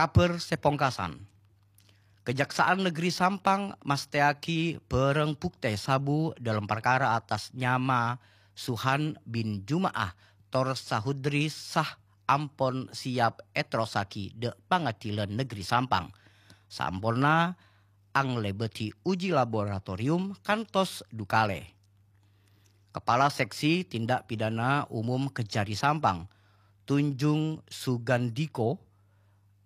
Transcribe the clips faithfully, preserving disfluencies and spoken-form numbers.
Kabhâr sè pongkasan. Kajaksaan Negeri Sampang mastèyaghi bhârâng buktè sabu dâlem parkara atas nyama Suhan bin Juma'ah tor Sahudri sah ampon siap èterrossaghi dâ' Pangadilan Negeri Sampang. Samponna anglèbâdhi uji laboratorium kantos dhu kalè. Kepala Seksi Tindak Pidana Umum Kejari Sampang, Tunjung Sugandiko,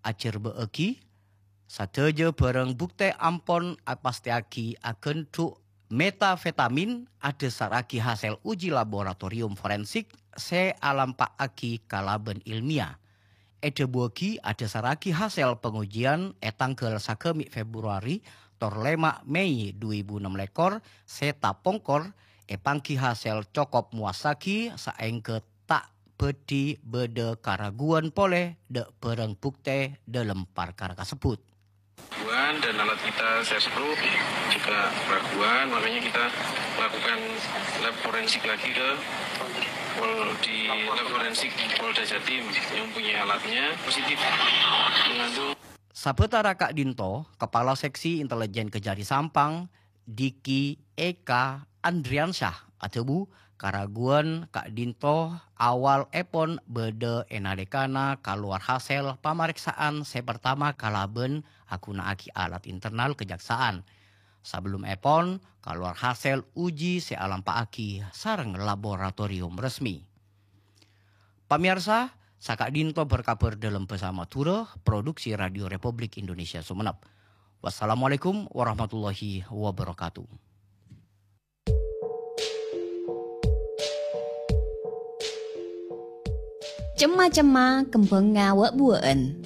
ajhârbâ'âghi, sadhâjâ bhârâng buktè ampon apastèyaghi aghândhu' metafetamin adhâsarraghi hasèl uji laboratorium forensik sè alampa'aghi kalabân ilmiah. Èdhâbuwâghi adhâsarraghi hasèl pangojiân è tangghâl sagâmè' Februari tor lèma' Mei dhu èbu ennem lèkor sè tapongkor èpangghi hasèl cokop mowassaghi saèngghâ ta' bhâdhi bâdâ karaguwân polè dâ' bhârâng buktè dâlem parkara kasebbhut. Keraguan dan alat kita serspro juga keraguan, makanya kita lakukan lab forensik lagi ke Pol-, di lab forensik Polda Jatim yang punya alatnya positif mengandung. Sabâtara ka'dinto, Kepala Seksi Intelijen Kejari Sampang, Diki Eka Andriansyah, adhâbu, karaguwân ka'dinto awal èpon bâdâ è nalèkana kalowar hasèl pamarèksaan sè partama kalabân aghuna'aghi alat internal kajaksaan. Sabellum èpon kalowar hasèl uji sè alampa'aghi sareng laboratorium resmi. Pamèyarsa, saka'dinto bhâr-kabhâr dâlem bhâsa Madhurâ, produksi Radio Republik Indonesia Sumenep. Wassalamualaikum warahmatullahi wabarakatuh. Cemma-cemma kembhângnga wâ'-buwâ'ân.